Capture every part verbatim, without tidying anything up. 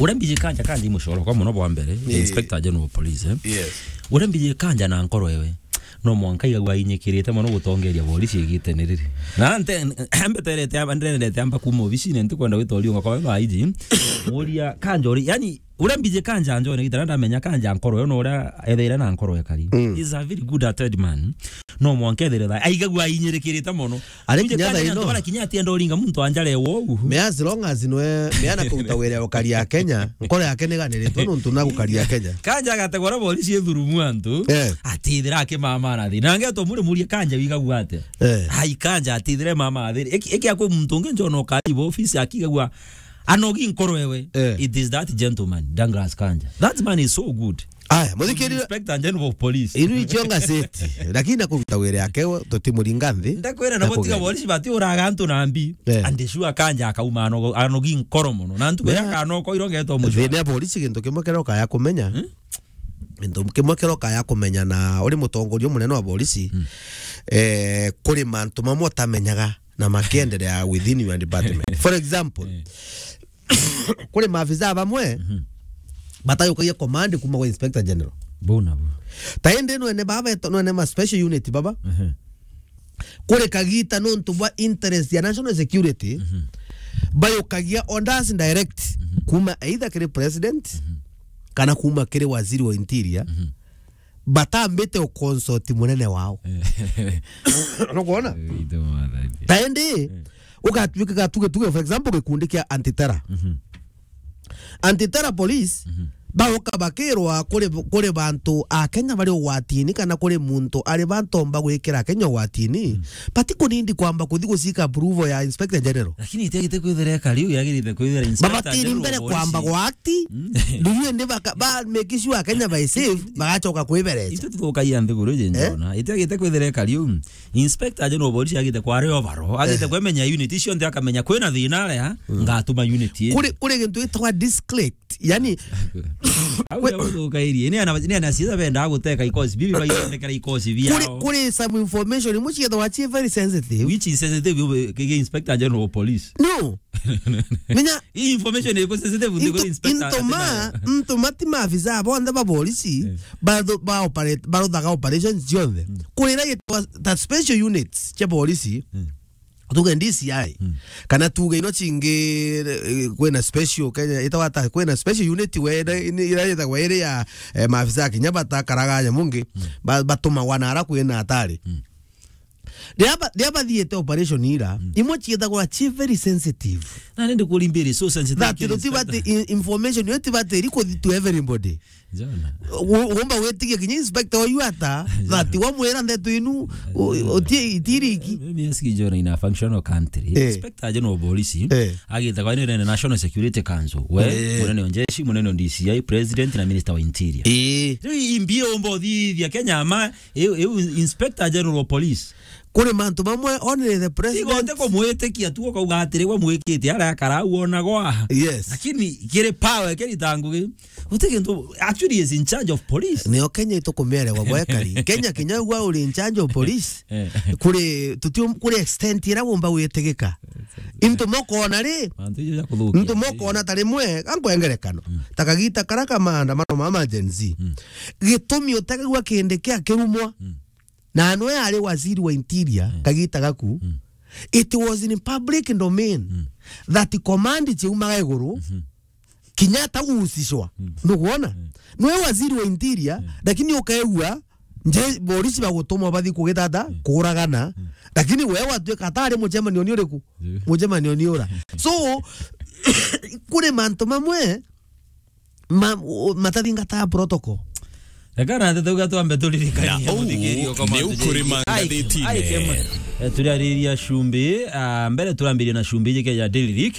Uria mbiji kanja, kanja i mucoro kwa muno bwa mbere, Inspector General of Police, eh? Yes. Uria mbiji kanja na nkoro ewe, no mwanka igagua ainyikirite mono gutongeria borisi igitene riri. Na nte-, mbeterete amba, ndendete amba kuma obisine, ntikwenda gwita uriunga kwa baba I G. Muria kanja uri, yani, uria mbiji kanja njone gitara ndamenya kanja nkoro yo, no uria ethaire na nkoro ekari. Mm. He's a very good hearted man. No mwanka ethaire tha-, aigagua ainyirikirite mono. Ari kinya thaa ino. Bara kinya atienda uringa muntu anjare wou. Me as long as nwe, me ana kuruta wira ya ukaria Kenya, nkoro yake ni ganiritwe nuntu na gukaria Kenya. Kanja agategwa na borisi ithurumu antu, eh, atithira akimamara thi. Na ngeto muri murie kanja wigagua atia? Eh. Ai kanja atithire mama thi. Iki, iki akwi muntu ungi njona ukari bo office akigagua anogi nkoro ewe. Eh. It is that gentleman, Douglas Kanja. That man is so good. Aya, muthikiria. Inspector General of Police. Inu icio ngaceti, lakini na kuruta wira yake, tutimuringa nthi. Ndakwira na gutiga kugeria. Borisi bati uraga antu na mbi. Eh. And sure kanja akauma ano-, anogi nkoro mono. Na ntuku ya kana oko irongetwo mucwa. Thina ya borisi gintu kimwe kiria ukaya kumenya. Hmm? Gintu kimwe kiria ukaya kumenya na uri mutongoria munene wa borisi, hmm, eh, kuri mantu mamwe utamenyaga na makiendelea within your department. For example, eh, kuri maafisa bamwe, mhm, batayukagia command kuma kwa Inspector General. Bona bo. Ta indi nwene baba eto, nwene ma special unit baba. Mhm. Kuri kagita nontu bwa interest ya national security, mhm, bayukagia orders direct, mhm, kuma either kiri president, mhm, kana kuma kiri waziri wa interior. Mhm. Batambite uconsult munene wao. Eh. Nukwona? Eh, ithe mwathani. Ta indi, eh, ugatuika gatuge, tuge, for example, gikundi kia anti-terror. Mhm. Anti-terror police, mhm, baoka bakirwa kuri, kuri bantu a Kenya bari ugwatini kana kuri muntu ari bantomba gwikira Kenya ugwatini, mm, batikunindi kwamba kuthi gucika approval ya Inspector General. Lakini itiagite kwithira ekari u yagirite kwithira Inspector General. Babatiri mbere kwamba gwa act, mm, nduyu indi baka-, ba make sure Kenya by safe, bagacoka kwibereca. Itu tukaia nthiguru je, eh? Njona. Itiagite kwithira ekari u. Inspector General of Police agite kwa ari overall, agite, eh, kwemenya unit icio nthe akamenya kwina thina aria, mm, ngatuma unit ii. Kuri, kuri gintu gitagwa disclect, yani, au ya guthukairie. Ni ana, ni ana ciitha benda guteka ikosi bibi, baithondekera ikosi biao. Kuri, kuri some information imwe ciithagwa ci very sensitive. Which is sensitive, kige Inspector General of Police. No. Menya hii information iko sensitive, into, ndiko inspector into ma, into mati maafisa bonthe ba borisi, eh, batho-, ba operate, barothaga operations cionthe. Mm. Kurira gitwa ta special units cia borisi, mm, tuge D C I, mm, kana tuge ino cingi, eh, kwina special Kenya, itagwa ta, kwina special unit we, ira, ira yithagwa iri ya, eh, maafisa kinya batakaraga nyamu ngi, mm, ba-, batumagwa na ara kwina atari. Mm. Riria ba-, riria bathiite operation ira, mm, imwe ciithagwa ci very sensitive. Na nindi kuri mbiri so sensitive. That kiri tutibati inspector. In-, information yo tibati iri kuthi to everybody. Jona. U-, umba gwitigia kinya inspector oyu ata, Jona, that wamwira ndeto inu, u-, uti-, itiriki. Eh, mimi aski Jona ina functional country. Eh. Inspector General of Police, eh, agitagwa ni National Security Council. We, eh, munene wa jeshi, munene wa D C I, president na minister wa interior. Eh. Riu imbi umba uthithia Kenya ma, iu, iu Inspector General of Police. Kuri mantu mamwe, only the president. Tiga uti kumwitikia tu, ukauga atiri, we mwikite aria akara au onagwa. Yes. Lakini kiri power, kiri ta ngugi. Uti kintu, actually is in charge of police. Nio Kenya itukumererwa gwekari. Kenya kinya ugwa uri in charge of police. Eh. Kuri, tuti, kuri extent ira wumba witigika. Into mokona ri? Mantu ijo ja kuthukia. Into mokona ta rimwe, gankwengerekano. Mm. Ta kagita kara ka maandamano ma Gen Z. Mm. Gitumi utegagua kindi kia kirumwa. Mm. Na nwe ari waziri wa interior, mm, kagita gaku, mm, it was in public domain, mm, that command ciaumaga iguru, mhm, kinya atagucicwa. Mm. Nugwona? Mm. Nwe waziri wa interior, mm, lakini ukaigua nje borisi bagutumwa bathi kugitata, mm, kuragana. Mm. Lakini we watuika atari mucemanio ni uriku? Mm. Mucemanio ni ura. So, kuri mantu mamwe, ma-, o-, matathingataga protocol. Reka na ndeto uga twambe turirikanie. Na uu muthikiri okwa ni mantu ukuri jaingi. Mangathitine. Ai, ai, kemwe. Eh, turariria cumbi, ah, mbere turambirie na cumbi iji ya Daily Leak.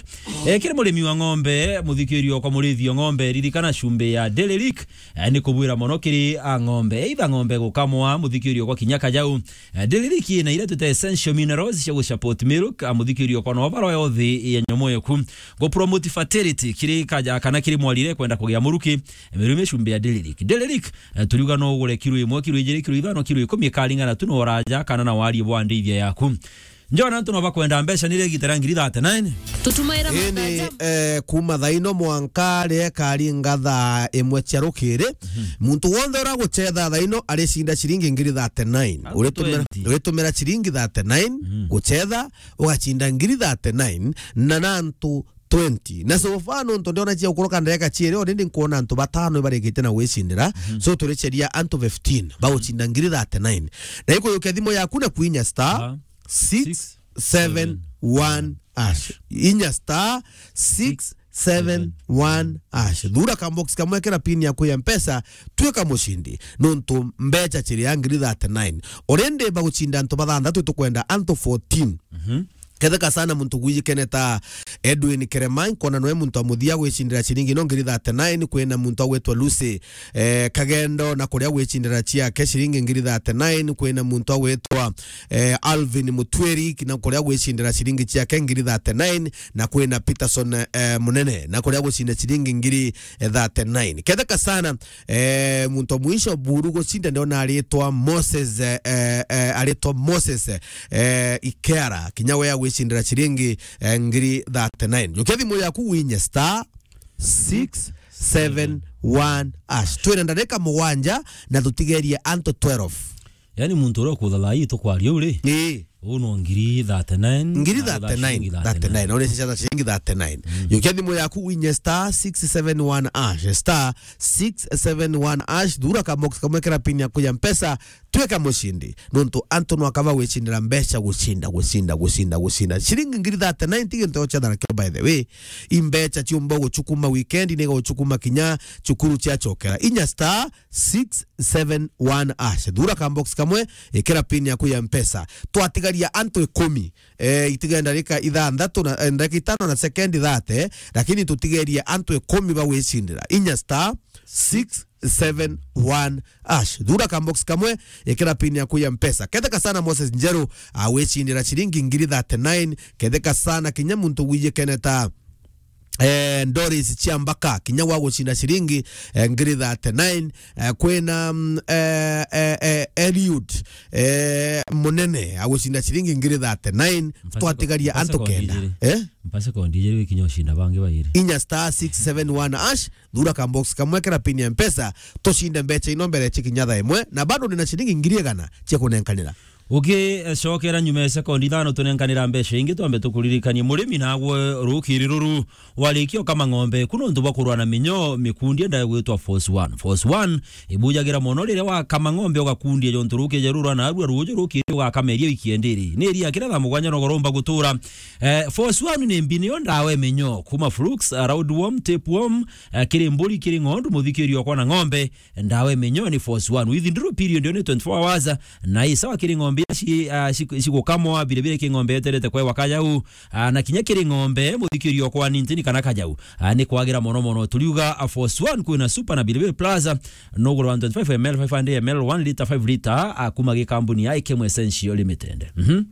Eh, kiri murimi wa ng'ombe, muthikiri okwa murithi wa ng'ombe, ririkana cumbi ya Daily Leak. Eh, ni kubwira mono kiri a ng'ombe. Either ng'ombe gukamwa, muthikiri okwa kinya kajau. Eh, Daily Leak ina iria twita essential minerals cia gu support milk, a muthikiri okwa no baro yothi ya nyomo yeku. Go promote fertility, kiri kaja kana kiri mwarire kwenda kugia muruki, mirume cumbi ya Daily Leak. Daily Leak, eh, turiuga no ugure kiro imwe, kiro ijiri, kiro ithano, kiro ikumi, ikaringana tu na uraja kana na wari bwa ndithia yaku. Njona antu no bakwenda mbeca ni rigita ria ngiri thirty-nine. Tutumaira Indi, mathaja. Eh, kuma thaa ino mwanka riria ikaringa thaa imwe cia rukiri, muntu wonthe uria gucetha thaa ino aricinda ciringi ngiri thirty-nine. Antu Uritumira, twenty. Uritumira ciringi thirty-nine gucetha, ugacinda ngiri thirty-nine, na nantu twenty. Na so far, nontu ndiona cia gukuruka ndagika ciiri, already nkwona antu batano ibarikite na gwicindira. So, turiceria antu fifteen bagucinda ngiri thirty-nine. Na ikuyukia thimu yaku na kwinya star six seven one hash. Inya star six seven one hash. Thura ka box kamwe, kira pin yaku ya Mpesa, twika mucindi. Nontu mbeca ciria ngiri thirty-nine. Already bagucinda antu bathanthatu, tukwenda antu fourteen. Ketheka sana muntu gwijikene ta Edwin Kerema, nkona nwe muntu amuthia gwicindira ciringi no ngiri thirty-nine, kwina muntu agwitwa Lucy, eh, Kagendo, na kuria gwicindira ciake ciringi ngiri thirty-nine, kwina muntu agwitwa, eh, Alvin Mutwiri, na kuria gwicindira ciringi ciake ngiri thirty-nine, na kwina Peterson, eh, Munene, na kuria gucinda ciringi ngiri, eh, thirty-nine. Ketheka sana, eh, muntu wa mwisho buru gucinda ndiona aritwa Moses, eh, eh, eh, aritwa Moses, eh, Ikera, kinya we agwicindira ciringi, eh, ngiri thirty-nine. Jukia thimu yaku winye star six seven one hash. Twina ndarika mugwanja na tutigerie antu twelve. Yani muntu uria ukutha thaa ii tukwaria uri? Ii. Uu no ngiri thirty-nine, ngiri na thirty-nine, ciringi thirty-nine. Thirty-nine. Uri ciana ciringi thirty-nine. Jukia thimu yaku winye star six seven one hash, star six seven one hash, thura ka box kamwe kira pin yaku ya Mpesa, twika mucindi. Nontu antu no akaba gwicindira mbeca, gucinda, gucinda, gucinda, gucinda. Ciringi ngiri thirty-nine ti gintu gia gucethera kio, by the way. I mbeca ciumba gucukuma weekend, ni gucukuma kinya cukuru ciacokera. Inya star six seven one hash. Thura ka box kamwe, ikira pin yaku ya Mpesa. Twatigaria antu ikumi. Eh, itige ndarika ithanthatu na, eh, ndarika itano na sekendi thirty, lakini tutigerie antu ikumi bagwicindira. Inya star six seven one hash. Thura ka box kamwe, ikira pin yaku ya Mpesa. Ketheka sana Moses Njeru, awicindira ciringi ngiri thirty-nine. Ketheka sana kinya muntu gwijikene ta, eh, Doris Chiambaka, kinya wa gucinda ciringi, eh, ngiri thirty-nine. Eh, kwina, mm, eh, eh, eh, Eliud, eh, Munene, agucinda ciringi ngiri thirty-nine. Mpase ko-, twatigaria mpase antu kondi kenda ijiri. Eh? Mpase kondi ijiri wikinya ucinda bangi bairi. Inya star six seven one hash, thura ka box kamwe kira pin ya Mpesa, tucinde mbeca ino mbere cikinya thaa imwe, na bado ndina ciringi ngiri igana cia kunenkanira. Ukicokera nyuma ya sekondi ithano tunenkanira mbeca ingi, twambe tukuririkanie murimi nagwe rukiri ruru warikia ukama ng'ombe, ku nontu bwa kurwa na minyo, mikundi enda gwitwa Force One. Force One ibujagira mono riria wakama ng'ombe ugakundia jontu rukiri ruru rwa narua ruju rukiri ugakameria wiki endiri. Ni iria kira thaa mugwanja no goromba gutura. Eh, Force One ni mbi niyo ndawa ya minyo. Kuma flukes, eh, roundworm, tapeworm, eh, kiri mburi, kiri ng'ondu, muthikirio okwa na ng'ombe, ndawa ya minyo ni Force One. Within due period ni twenty-four hours, na i sawa kiri ng'ombe iria ci-, ah, ci-, cigukamwa, vile vile kiri ng'ombe yeterete kwewa kajau, ah, na kinya kiri ng'ombe muthikirio okwa ni ntini kana kajau, ah, ni kwagira mono mono. Turiuga, ah, Force One kwina Super na vile vile Plus, ah, nugurwa one twenty-five M L, five hundred M L, one litre, five litre, ah, kuma gikambuni ya Ikemwe Essential Limited. Mhm.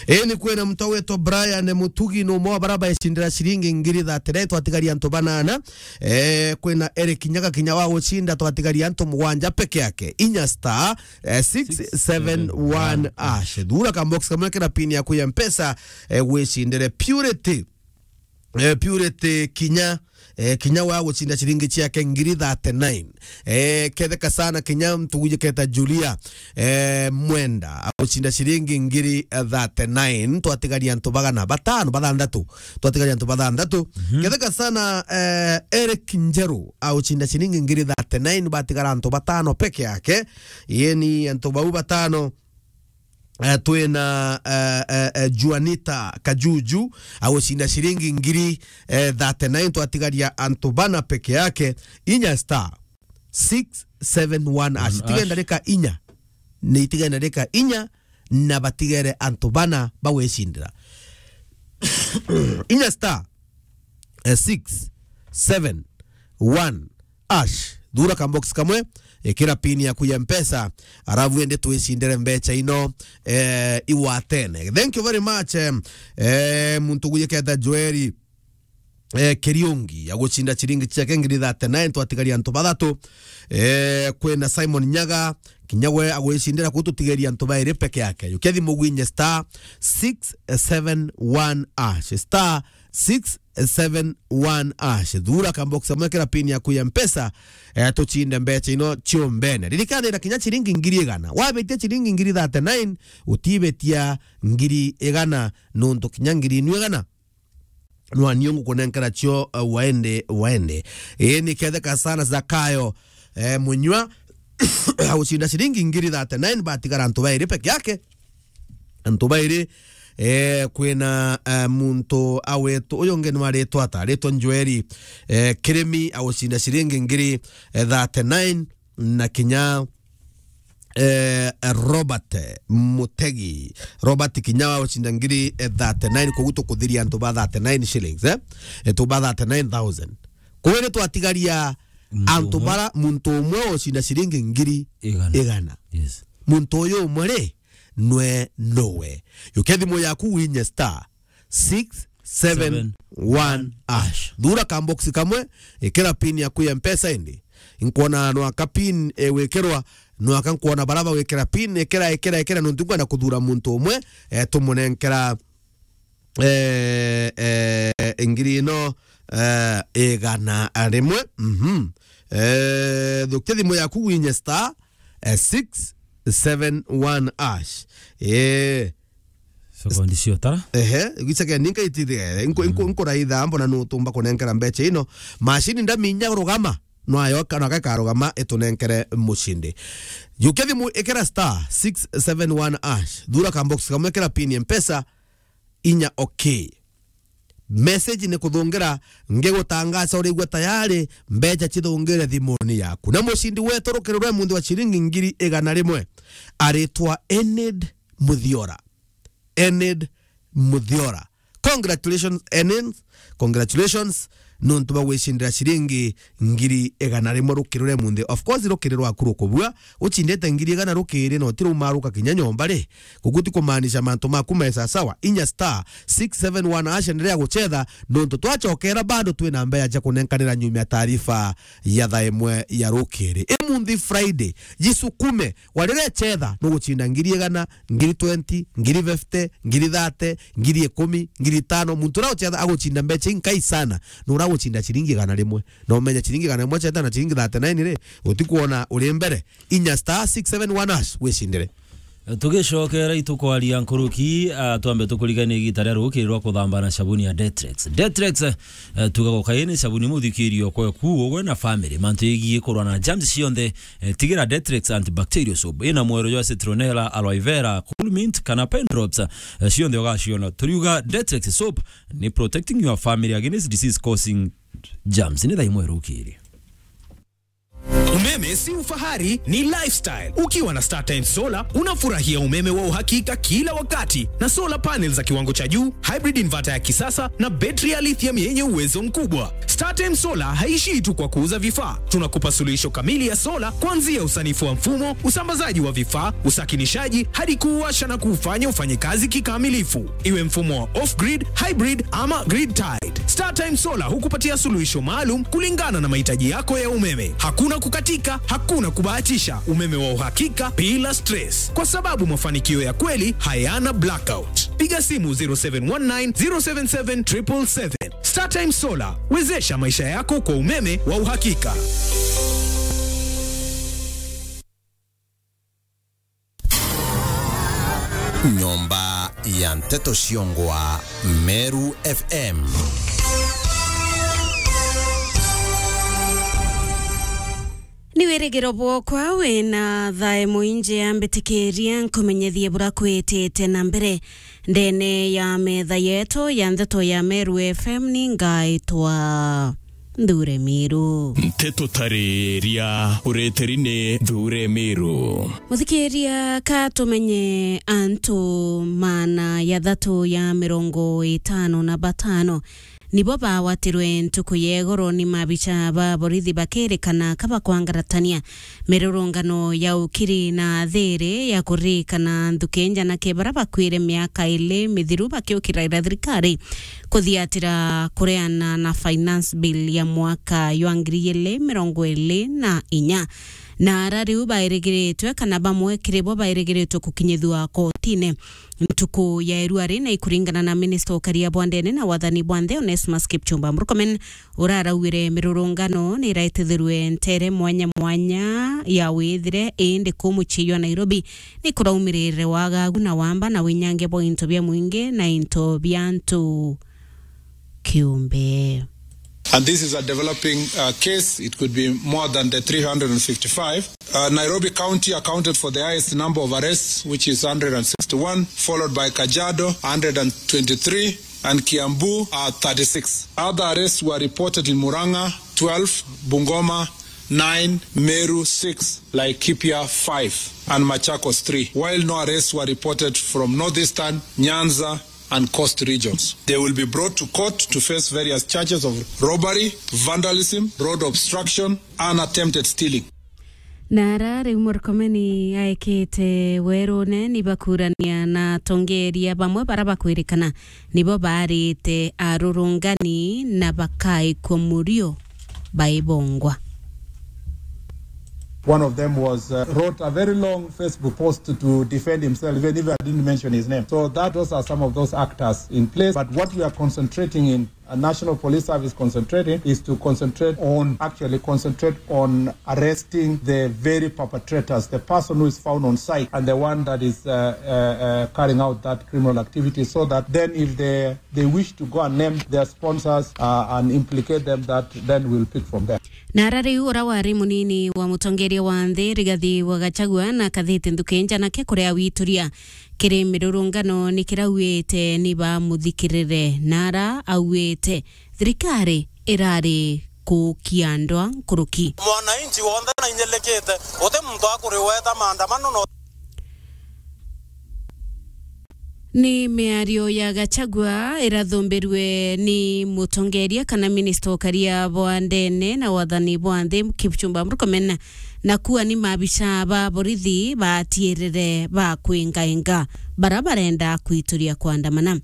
Ii, ni kwina muntu witwa Brian Mutugi, ni umwe wa baria baicindira ciringi ngiri thirty-nine, twatigaria antu banana. Eh, kwina Eric Nyaga kinya wa gucinda, twatigaria antu mugwanja peke yake. Inya star, eh, six seven one hash. Thura ka box kamwe kira pin yaku ya Mpesa, eh, gwicindire Purity. Eh, Purity kinya, eh, kinya wa gucinda ciringi ciake ngiri thirty-nine. Eh, ketheka sana kinya mtuguji keta Julia, eh, Mwenda, agucinda ciringi ngiri, eh, thirty-nine. Twatigaria antu bagana batano, bathanthatu. Twatigaria antu bathanthatu. Mhm. Ketheka sana, eh, Eric Njeru, agucinda ciringi ngiri thirty-nine, batigara antu batano peke yake. Yeni antu bau batano, eh, twina, eh, eh, eh, Juanita Kajuju, agucinda ciringi ngiri, eh, thirty-nine, twatigaria antu bana peke yake. Inya star six seven one hash. One hash. Itige ndarika inya. Ni itige ndarika inya, na batigere antu bana bagwicindira. Inya star, eh, six seven one hash. Thura ka box kamwe, ikira pin yaku ya Mpesa, arabu ende twicindire mbeca ino, eh, igwatene. Thank you very much, eh, eh, muntu gujiketa Joeli. eh, Kiriungi, agucinda ciringi ciake ngiri thirty-nine, twatigaria antu bathatu. Eh, kwina Simon Nyaga, kinya we agwicindira kuu, tutigeria antu bairi peke yake. Jukia thimu gwinye star six seven one hash, star six seven one hash. Thura kambox kamwe, kira pin yaku ya Mpesa, eh, tucinde mbeca ino ciombene. Ririkana, ina kinya ciringi ngiri igana. Wabitia ciringi ngiri thirty-nine, utibitia ngiri igana, nontu kinya ngiri inu igana nwa niu ngukunenkera cio, eh, waende, waende. Ii, ni ketheka sana Zakayo, eh, Munywa, agucinda ciringi ngiri thirty-nine, batigara antu bairi peke yake. Antu bairi, eh, kwina, eh, muntu awetu, uyu ungi ni waritwa ata? Aritwa Njoeri, eh, Kirimi, agucinda ciringi ngiri, eh, thirty-nine, na kinya eh, Robert Mutegi. Robert kinya wa gucinda ngiri, eh, thirty-nine, koguo tukuthiria antu ba thirty-nine shillings, eh? Eh, tu ba thirty-nine thousand. Koguo ni twatigaria antu bara muntu umwe ucinda ciringi ngiri igana. Igana. Yes. Muntu uyu umwe ri, nwe nowe. Jukia thimu yaku winye star six seven one hash. Thura kambox kamwe, ikira pin yaku ya Mpesa indi. Nkwona nwaka pin, eh, wikirwa, nwaka nkwona bara bagwikira pin, ikira, ikira, ikira, nontu nkwenda kuthura muntu umwe, eh, tumunenkera, eh, eh, ngiri ino, eh, igana rimwe. Mhm. Eh, thukia thimu yaku winye star, eh, six seven one hash. Eh, Sekondi cio tara. Ehe, gicage ninka itire, nko, nko, nkuraitha mbona nutumba kunenkera mbeca ino. Mashini ndaminya rugama, nwayoka, naka ikarugama itunenkere mucindi. Jukia thimu, ikira star six seven one hash. Thura kambox kamwe, ikira pin ya Mpesa, inya okay. Message ni kuthungira, ngigutangaca urigua tayari, mbeca cithungire thimuni yaku. Na mucindi wetu rukiri rwa munthi wa ciringi ngiri igana rimwe, aritwa Enid Muthiora. Enid Muthiora. Congratulations, Enid. Congratulations. Nontu bwa gwicindira ciringi ngiri igana rimwe rukiri rwa munthi. Of course, rukiri rwaku rukubua. Ucindite ngiri igana rukiri, na utirumaruka kinya nyomba ri. Guku ti kumaanisha mantu maku me sasawa. Inya star six seven one hash, endelea gucetha, nontu twacokera bado twina mbeca cia kunenkanira nyuma ya taarifa ya thaa imwe ya rukiri. Imunthi Friday, jisukume, warire cetha, nugucinda ngiri igana, ngiri twenty, ngiri fifty, ngiri thirty, ngiri ikumi, ngiri itano. Muntu uria ucetha agucinda mbeca inkai sana, ni uria ugucinda ciringi igana rimwe. Na umenya ciringi igana rimwe cetha na ciringi thirty-nine ri, utikwona uri mbere. Inya star six seven one hash wicindire. Tugicokera itukwaria nkuruki, ah, twambe tukurigania igita ria rukiri rwa kuthamba na sabuni ya Detrex. Detrex, eh, tugago kaini sabuni muthikirio kwe ku ugwe na family. Mantu yegii kurwa na germs cionthe, eh, tigira Detrex antibacterial soap. Ina mwero jwa citronella, aloe vera, cool mint kana pen drops, eh, cionthe ugaciona. Turiuga Detrex soap ni protecting your family against disease causing germs. Ni thaa imwe rukiri. Umeme si ufahari, ni lifestyle. Ukiwa na StarTimes Solar, unafurahia umeme wa uhakika kila wakati, na solar panels za kiwango cha juu, hybrid inverter ya kisasa, na betri ya lithium yenye uwezo mkubwa. StarTimes Solar haishii tu kwa kuuza vifaa. Tunakupa suluhisho kamili ya solar, kuanzia usanifu wa mfumo, usambazaji wa vifaa, usakinishaji, hadi kuuwasha na kuufanya ufanye kazi kikamilifu. Iwe mfumo wa off-grid, hybrid ama grid-tied, StarTimes Solar hukupatia suluhisho maalum kulingana na mahitaji yako ya umeme. Hakuna kukatika, hakuna kubahatisha, umeme wa uhakika bila stress, kwa sababu mafanikio ya kweli hayana blackout. Piga simu zero seven one nine, zero seven seven, triple seven. StarTimes Solar, wezesha maisha yako kwa umeme wa uhakika. Nyomba ya Nteto Ciongwa, Meru F M. Ni wirigiro bwokwa wina thae mwingi, ambitikiria nkumenyethie bura kwitite na mbere ndene ya metha yetu ya Nteto ya Meru F M. Ni ngaitwa Nthure Miru. Nteto tariria ureteri ni Nthure Miru. Muthikiria, ka tumenye antu maana ya thatu ya mirongo itano na batano nibo bawatirwe ntuku ya igoro ni mabicha ba borithi bakirikana kabakwangaratania mirurungano ya ukiri na thiri ya kuririkana nthuki njanake bara bakwire miaka ili mithiru bakiukiraira thirikari kuthiatira kureana na finance bill ya mwaka jwa ngiri ili mirongo ili na inya. Na ara riu bairigiritwe kana bamwe kiri bo bairigiritwe gukinyithua kotine ntuku ya irua ri, na ikuringana na minista ukaria bwa ndene na wathani bwa nthi Onesmus Kipchumba Murkomen, uraraugire mirurungano ni iraitithirwe ntere mwanya mwanya ya withire, indi ku mucii jwa Nairobi ni kuraumirire wagagu na wamba na winyangia bwa into bia mwingi na into bia antu kiumbe. And this is a developing, uh, case. It could be more than the three hundred and fifty-five. Uh, Nairobi County accounted for the highest number of arrests, which is hundred and sixty-one, followed by Kajiado, hundred and twenty-three, and Kiambu, uh, thirty-six. Other arrests were reported in Murang'a, twelve, Bungoma, nine, Meru, six, Laikipia, five, and Machakos, three, while no arrests were reported from Northeastern, Nyanza, and coast regions. They will be brought to court to face various charges of robbery, vandalism, road obstruction, and attempted stealing. Na ara riu Murkomen aekete werune ni bakurania na atongeria bamwe bara bakwirikana nibo baarite arurungani na bakaikwa murio baibongwa. One of them was, uh, wrote a very long Facebook post to defend himself, even if I didn't mention his name. So that, those are some of those actors in place. But what we are concentrating in, uh, National Police Service concentrating is to concentrate on, actually concentrate on arresting the very perpetrators, the person who is found on site and the one that is, uh, uh, uh, carrying out that criminal activity, so that then if they they wish to go and name their sponsors, uh, and implicate them, that then we'll pick from there. Na ara riu ura wari munini wa mutongeria wa nthi Rigathi wa Gachagua na akathite nthuki njanake kuria wituria kiri mirurungano ni kirauite ni bamuthikirire, na ara auite thirikari irari kukia ndwa nkuruki. Mwananchi wonthe na inyelikite, guti muntu akuriweta maandamano no. Ni miario ya Gachagua irathumbirwe ni mutongeria kana minista ukaria bwa ndene na wathani bwa nthi Kipchumba Murkomen, na kuwa ni mabicha ba borithi batiirire ba kwingainga bara barenda kwituria kwandamana.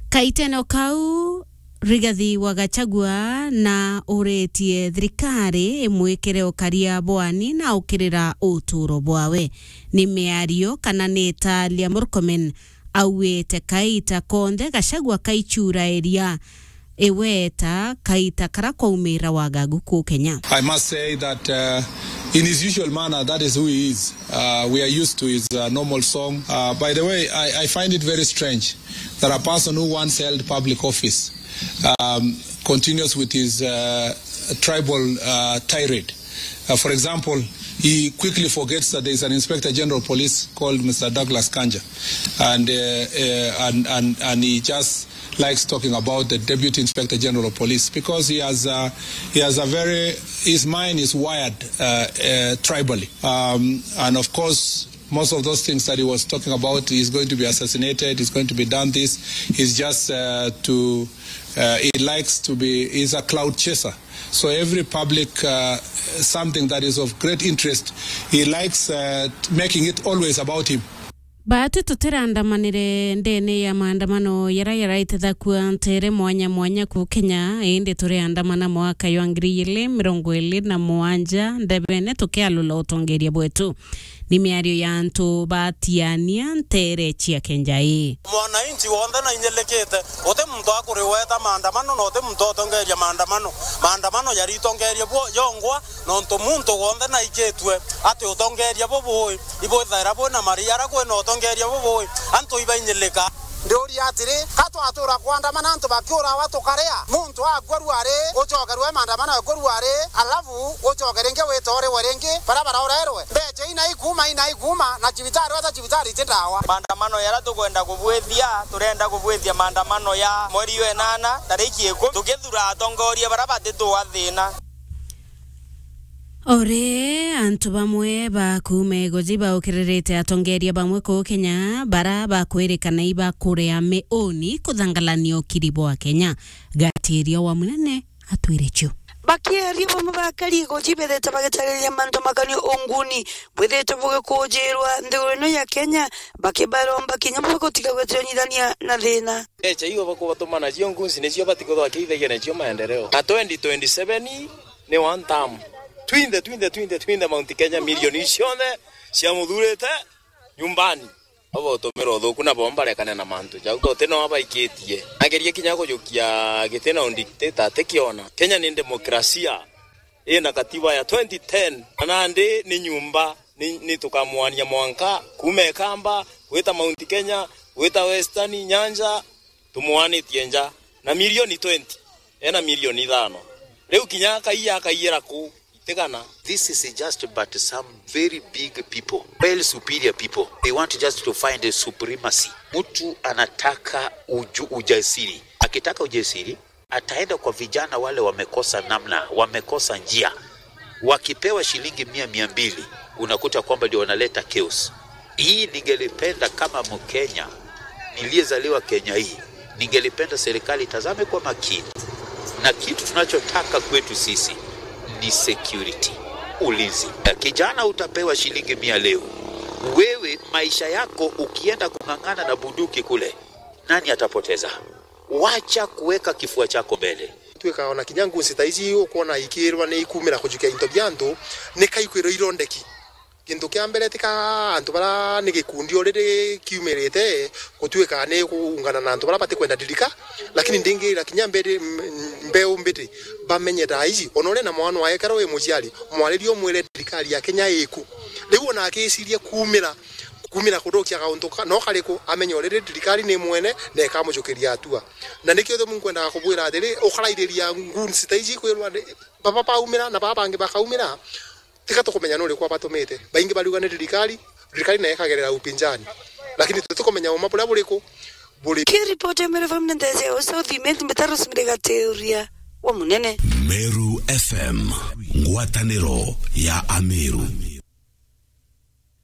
Kaitene o kau, Rigathi wa Gachagua na uretie thirikari imwikire ukaria bwani na ukirira uturo bwawe. Ni miario kana ni italia Murkomen auite kaita konthe Gachagua kaichurairia iweta kaita kara kwaumira wagagu ku Kenya. I must say that, uh, in his usual manner, that is who he is. Uh, we are used to his, uh, normal song. Uh, by the way, I, I find it very strange that a person who once held public office, um, continues with his, uh, tribal, uh, tirade. Uh, for example, he quickly forgets that there is an Inspector General of Police called Mister Douglas Kanja, and, uh, uh, and, and, and he just likes talking about the Deputy Inspector General of Police because he has, uh, he has a very, his mind is wired, uh, uh, tribally. Um, and of course, most of those things that he was talking about, he's going to be assassinated, he's going to be done this, he's just, uh, to, uh, he likes to be, he's a cloud chaser. So every public, uh, something that is of great interest, he likes, uh, making it always about him. Baatwi tutiraandamanire ndene ya maandamano yara yaraitithakua ntere mwanya mwanya ku Kenya, indi turiandamana mwaka jwa ngiri igiri mirongo iri na mugwanja ndebene tukialula utongeria bwetu. Ni miario ya antu batiania ntere cia Kenjai. Mwananchi wonthe na inyelikite, guti muntu akuriweta maandamano na guti muntu utongeria maandamano. Maandamano yaritongeria bwo yongwa, nontu muntu wonthe naikitue ati utongeria bubui ibwithaira bwina mari ara kwina utongeria bubui, antu ibainyilika. Ndiuria atiri, ka twatura kwandamana antu bakiurawa tukaria? Muntu akua ruari, ucokerwe maandamano akua ruari, alafu ucoke ringi wite uriwe ringi, bara baraurerwe? Mbecha ina ikuma, ina ikuma, na cibitari weta cibitari ti ndawa. Maandamano yara tukwenda kubwithia, turenda kubwithia maandamano ya mweri wa inana, tariki ikumi, tukithura atongoria bara batituwa thina. Ore antu bamwe ba kuuma igoji baukiririte atongeria bamwe kuu Kenya bara bakwirikana ibakuria miuni kuthangalania ukiri bwa Kenya. Ga- Tiria wa Munene atwire cio. Bakiaria bamwe ba Karigo jibethete bagitariria mantu makani unguni bwithite bugikujirwa nthiguru ino ya Kenya, bakibaromba kinya bwe gutiga gwetiranyithania na thina. Mbeca iu bakubatuma nacio ngunsi nicio batikuthwa kiithagia nacio maendeleo. Na twenty twenty-seven ni one term. Twinthe, twinthe, twinthe, twinthe Mount Kenya milioni cionthe cia muthurite nyumbani. Obo utumira uthuku na bo mbarekane na mantu jau. Guti no abaikitie. Agerie kinya kujukia giti na undictator atikiona. Kenya ni demokrasia. Ina katiba ya twenty ten. Na nandi ni nyumba, ni, ni tukamwania mwanka kuma Ikamba, gwita Mount Kenya, gwita Western, Nyanza, tumwanitie nja. Na milioni twenty. Ena milioni ithano. Riu kinya akaiya, akaiyira ku? Itigana. This is just but some very big people, well superior people. They want just to find a supremacy. Mtu anataka uju-, ujasiri. Akitaka ujasiri, ataenda kwa vijana wale wamekosa namna, wamekosa njia. Wakipewa shilingi mia, mia mbili, unakuta kwamba ndio wanaleta chaos. Hii ningelipenda kama Mkenya niliyezaliwa Kenya hii, ningelipenda serikali itazame kwa makini, na kitu tunachotaka kwetu sisi ni security, ulinzi. Kijana, utapewa shilingi mia leo, wewe maisha yako ukienda kung'ang'ana na bunduki kule, nani atapoteza? Wacha kuweka kifua chako mbele. Twika ona kinya ngunsi ta ici ukwona ikirwa ni ikumira kujukia into bia antu, ni kaikwirwa irondeki. Kintu kia mbere, tika antu bara ni gikundi already kiumirite, gutuika ni kuungana na antu bara batikwenda thirikari, lakini ndingira kinya mbere, m-, mbeu mbiti bamenye thaa ici. Ona uri na mwana wae, kara wi muciari, mwaririe umwire thirikari ya Kenya iku. Riu ona akicirie kumira, kumira kuthukia kauntu ka-, no kariku, amenye already thirikari ni mwene na ikamujukiria hatua. Na nikio uthe munkwendaga kubwira atiri, ukarairiria ngunsi ta ici kwirwa ni, baba baumira na baba bangi bakaumira. Tika tukumenya nuriku abatumite. Baingi bariuga ni thirikari, thirikari nayo ikagerera upinzani. Lakini tutikumenya uma buria buriku buri. Kiripoti ya Meru F M ni Ndeze ya South Imenti, mbita Rosemary Gateuria wa Munene. Meru F M, ngwataniro ya Ameru.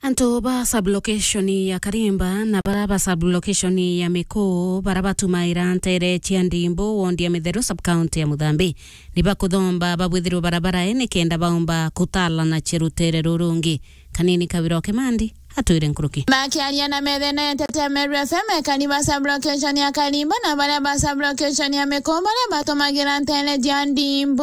Antu ba sub-location ya Karimba na bara ba sub-location ya Miku, bara batumaira ntere cia Ndimbu, wondi ya Mitheru, sub-county ya Muthambi, ni bakuthomba babwithirwe barabara ii nikenda baumba kutalana cia rutere rurungi. Kanini Kawira wa Kimandi atwire nkuruki. Bakiaria na methene ya Nteto ya Meru F M, ekari ba sub-location ya Karimba na baria ba sub-location ya Miku baria batumagira ntere cia Ndimbu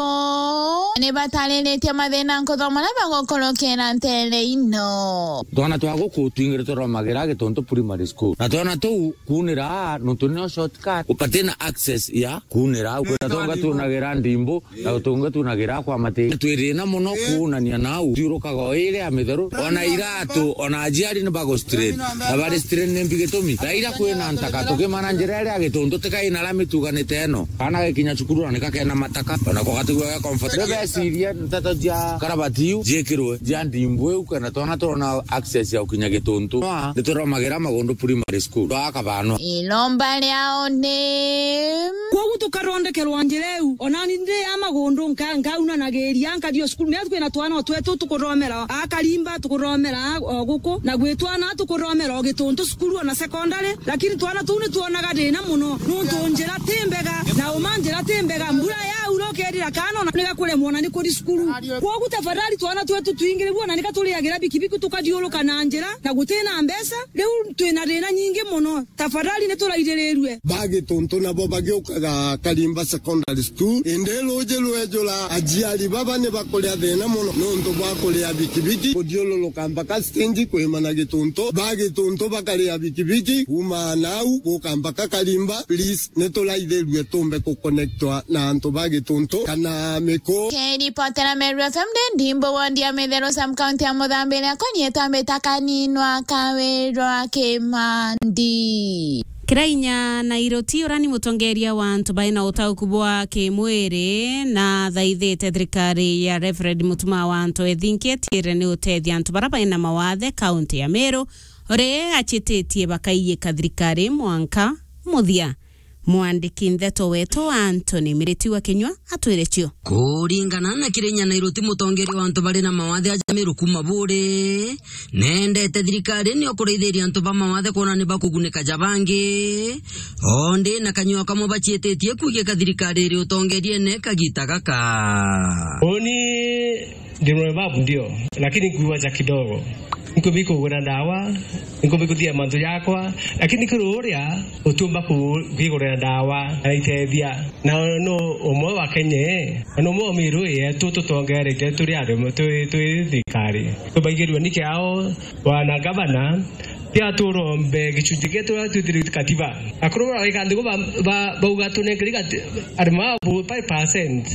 ni batariritie mathina nkuthomba na bagukurukira ntere ino. Twana twa guku twingire turomagira Gituntu Primary School. Na twana tuu kuunira aa, nontu nio shortcut. Upatina access ya kuunira au. Kwina tonga tunagira Ndimbu, na utunga tunagira kwa mati. Twi thina muno kuunania nau. Thiurukaga o iri ya Mitheru. Ona iratu, ona aciari ni bagu strain. Na bari strain ni mbi gitumi. Thaira kwina ntaka, tukimana njira iria ya Gituntu, tikai na lami tuganite ino. Kana gakinya cukuru na nika kena mataka. Ona kwa gatigua ga comfort. Rebeciria nteto cia karabati iu ciikirwe cia Ndimbu iu, kana twana turona access ya gukinya Gituntu. Nituromagira Magundu Primary School. Twa kabano. Iromba riao ni. Kwogu tukathondekerwa njira iu. Ona ni ndi ya Magundu nka-, nkaunanagiria, nkathii o cukuru. Mea kwina twana o twetu tukuthomera a Karimba, tukuthomera o guku. Na gwi twana tukuthomera o Gituntu cukuru ona secondary. Lakini twana tuu ni twonaga thina muno. Nontu njira ti mbega. Na uma njira ti mbega. Mbura yaura ukethira kana ona ni gakuremwa ona ni kuthi cukuru. Kwogu tafadhali twana twetu twingirirwe ona ni gaturiagira bikibiki tukathiuruka na njira. Na guti na mbeca. Riu twina thina nyingi muno. Tafadhali ni turaithirirue. Ba Gituntu nabo bagiukaga Karimba Secondary School. Indi ruuji rwejura, aciari baba ni bakuria thina muno nontu bwa kuria bikibiki. Kuthiururuka mpaka stage kwimana Gituntu. Ba Gituntu bakaria bikibiki. Kuuma nau, guka mpaka Karimba. Please, ni turaithirue tumbe kuconnectwa na antu ba Gituntu kana Miku. Kiripotera Meru F M ndi Ndimbu wondi ya Mitheru sub-county ya Muthambi iria konyetwa mbita Kaninwa Kawirwa Kimandi. Kirainya na Iroti, urani mutongeria wa antu baina utauku bwa kimwiri na thaithite thirikari ya Reverend Mutuma wa antu ethinki etiire ni utethia antu bara baina mawathe kaunti ya Meru, uri achititie bakaiyika thirikari mwanka muthia. Mwandiki ndeto wetu Anthony Miriti wa Kinyua atwire cio. Kuringana na Kirinya Nairuti, mutongeria wa antu bari na mawathe aja Meru kuma Buuri, nendete thirikari nio kuraithiria antu ba mawathe kwona ni bakugunika ja bangi. Ondi na kanyua kamwe bacietitie kugiika thirikari iri utongeriene kagita gaka. Uni Ndi mremavu ndio, lakini nkuacha kidogo. Nkubi kugura ndawa, nkubi kuthia mantu jakwa, lakini kuri uria utiumba ku-, kwigurira ndawa na itethia. Na no umwe wa Kenya, na no umwe wa Meru yetu tutongerete turi arimi, twi, twi thirikari. Tubaigirwe ni kiao, bwana gavana, tia turombe gicunji gietu turia twithiritwe katiba. Akuru bara wika nthiguru ba, ba, bauga tunengeri gati-, arimi abo five percent.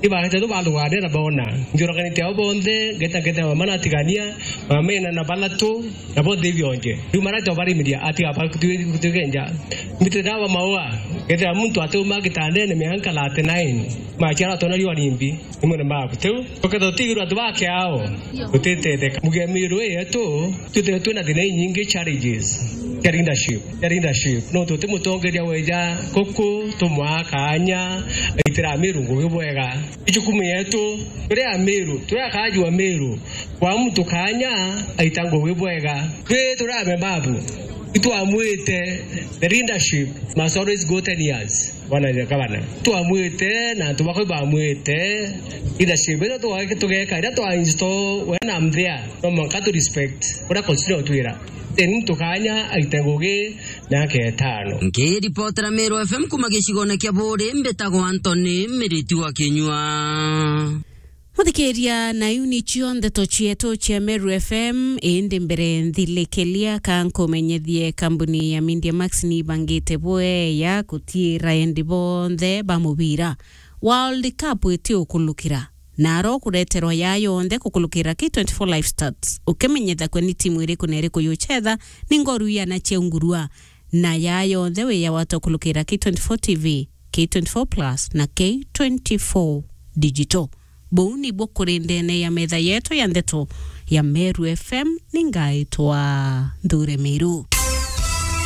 Ibagete tu bathugania na bona. Njuraganite abo bonthe, ngeta, ngeta mama natigania, mama ina na balatu, na bonthe ibionje. Riu mara to barimiria, ati aba kutu-, kutugenja. Mbite dawa maua, ngeta muntu ati uma gitandene mianka thirty-nine. Machiara tona riu arimbi, imwe na mabu. Tiu, tuketha tutigirwa antu ba kiao, tutitetheka. Muge Meru yetu, twithirwe twina thina inyingi, challenges cia leadership, cia leadership. No tuti mutongeria weja kuku, tumwaa kaanya, aitira Meru ngugi bwega. Ijukumu yetu, turi Ameru, turi akaaju a Meru, kwa muntu kaanya, aita ngugi bwega. Twi turi amebabu, itwamwite, the leadership must always go ten years. Bwana gavana, twamwite na antu bakwa bamwite, leadership iria twa-, tugeka, iria twa install, when I'm there, no mwanka tu respect uria constitution utwira. Then muntu kaanya aite ngugi miaka itano. Nkiripotera Meru F M kuma gicigone kia Buuri, mbitagwa Anthony Miriti wa Kinyua. Muthikiria, na iu nicio ndeto cietu cia Meru F M, indi mbere nthilikelia ka nkumenyethie kambuni ya Media Max ni ibangite bweya gutiira endi bonthe ba mubira. World Cup iti ukulukira, na aro kureterwa ya yonthe kukulukira K twenty-four Live Stats. Ukimenyetha kwe ni timu iriku na iriku yuchetha, ni ngoru iana cia ungurua. Na ya yonthe wi ya wata ukulukira K twenty-four T V, K twenty-four Plus na K twenty-four Digital. Buu nibuo kuri ndene ya metha yetu ya ndeto ya Meru F M, ni ngaitwa Nthure Miru.